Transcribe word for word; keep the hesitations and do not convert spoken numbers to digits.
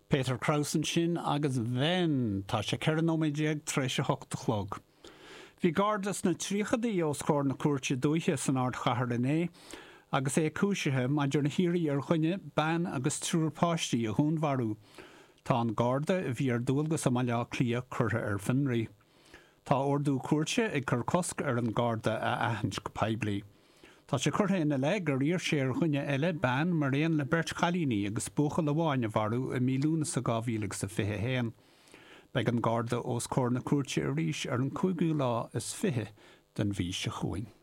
Peter Kraus ansin agus Wenn. Tá sé ceithre nóiméad déag tar éis a hocht a chlog. Bhí Garda sna tríochaidí os comhair na cúirte dúiche san ardchathair inné agus é cúisithe maidir le hiarraidh ar dhuine, bean agus triúr páistí a dhúnmharú. Tá an Garda a bhí ar dualgas i mBaile Átha Cliath curtha ar fionraí. Tá ordú cúirte ag cur cosc ar an Garda a aithint go poiblí. Tá sé curtha ina leith gur iarr sé ar dhuine eile bean mar aon le beirt chailíní agus buachaill amháin a mharú i mí Lúnasa dhá mhíle agus a fiche a haon. Beidh an Garda os comhair na cúirte arís ar an cúigiú lá is fiche den mhí seo chugainn.